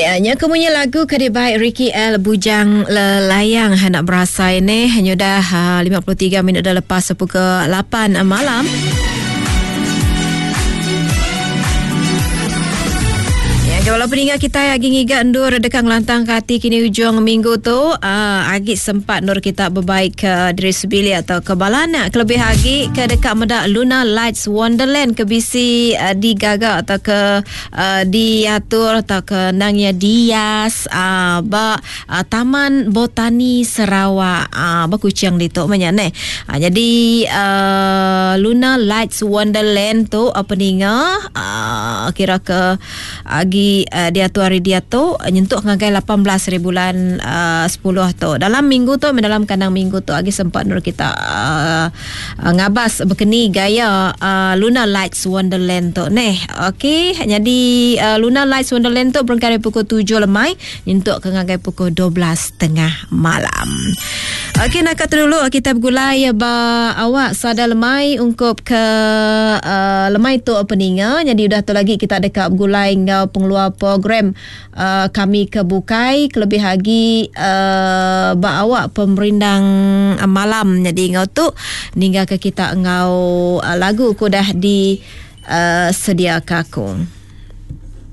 Nya ke munyi lagu ke dibai Ricky L Bujang Lelayang nak berasai ni nyudah 53 minit dah lepas pukul 8 malam. Ya, kalau peninga kita agi ngiga endur dekat ngelantang ke hati kini ujung minggu tu agi sempat nur kita berbaik ke diri sebilik atau ke balana kelebih agi ke dekat meda Luna Lights Wonderland ke bisi digaga atau ke uh, diatur atau ke nang ya dias uh, ba uh, Taman Botani Sarawak uh, ba Kuching ditu menya neh. Uh, jadi uh, Luna Lights Wonderland tu uh, peninga uh, kira ke agi uh, diatur hari dia tu nyentuk ngagai 18 hari bulan uh, 10 tu. Dalam minggu tu dalam kandang minggu tu agi sempat nur kita uh, Uh, ngabas bekeni gaya uh, Luna Lights Wonderland tu neh. Okey, jadi uh, Luna Lights Wonderland tu berengkah dari pukul 7 lemai nyentuk ke ngagai pukul 12.30 malam. Okey, nak kata dulu kita bergulai ba awak sada lemai ungkup ke uh, lemai tu peninga. Jadi udah tu lagi kita dekat bergulai ngau pengeluar program uh, kami ke bukai kelebih agi uh, ba awak pemerindang malam jadi ngau tu ninggal ke kita ngau uh, lagu ku dah di uh, sedia ke aku.